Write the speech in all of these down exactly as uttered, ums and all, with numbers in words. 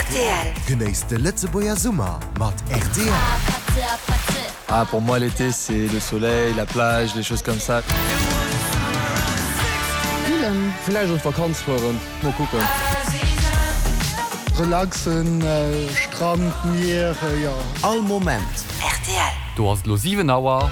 R T L. Genéisst de Lëtzebuerger Summer mat R T L. Ah, pour moi, l'été, c'est le soleil, la plage, les choses comme ça. Grillen. Vläicht an d'Vakanz fueren, mol kucken. Relaxen, äh, Strand, Mier, äh, jo. All Moment. R T L. Do ass et lo siwen Auer.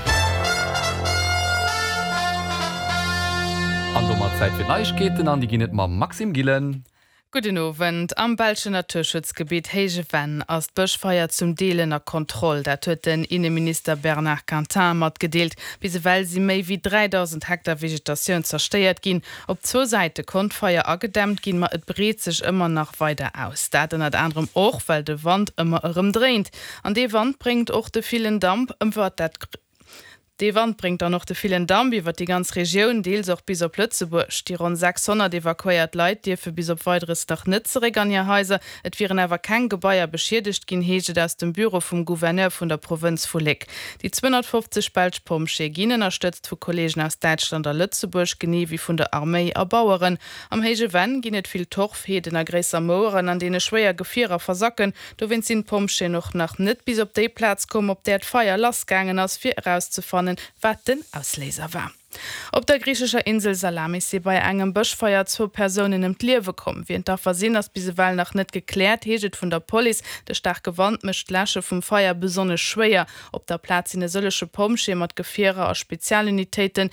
An domat Zäit fir d'Neiegkeeten an déi ginn et mam Maxime Gillen. Gudden Owend. Am belschen Naturschutzgebitt Héije Venn ass d'Bëschfeier zum Deel ënner Kontroll. Dat huet den Inneminister Bernard Quintin matgedeelt. Bis ewell si méi wéi dräidausend Hektar Vegetatioun zerstéiert ginn. Op zwou Säite konnt d'Feier agedämmt ginn, ma et breet sech ëmmer nach weider aus. Dat ënnert anerem och, well de Wand ëmmer erëm dréint. An dee Wand bréngt och de villen Damp ëmwer dat. Dee Wand bréngt dann och de villen Damp iwwer déi ganz Regioun, deels och bis op Lëtzebuerg. Déi ronn sechshonnert evakuéiert Leit dierfe bis op Weideres nach net zeréck an hir Haiser. Et wieren awer keng Gebaier beschiedegt ginn, heescht et aus dem Büro vum Gouverneur vun der Provënz vu Léck. Déi zweehonnertfofzeg belsch Pompjeeë ginn ënnerstëtzt vu Kolleegen aus Däitschland a Lëtzebuerg, genee wéi vun der Arméi a Baueren. Am Héije Venn ginn et vill Torfheeden a gréisser Moueren, an deene schwéier Gefierer versacken. Dowéinst sinn d'Pompjeeën och nach net bis op déi Plaz komm, op där d'Feier lassgaangen ass, fir erauszefannen, wat den Ausléiser war. Op der griichescher Insel Salamis si bei engem Bëschfeier zwou Persounen ëm d'Liewe komm. Wien d'Affer sinn, ass bis ewell nach net gekläert, heescht et vun der Police. De staarke Wand mécht d'Läsche vum Feier besonnesch schwéier. Op der Plaz sinn e sëllege Pompjeeë mat Gefierer a Spezialunitéiten.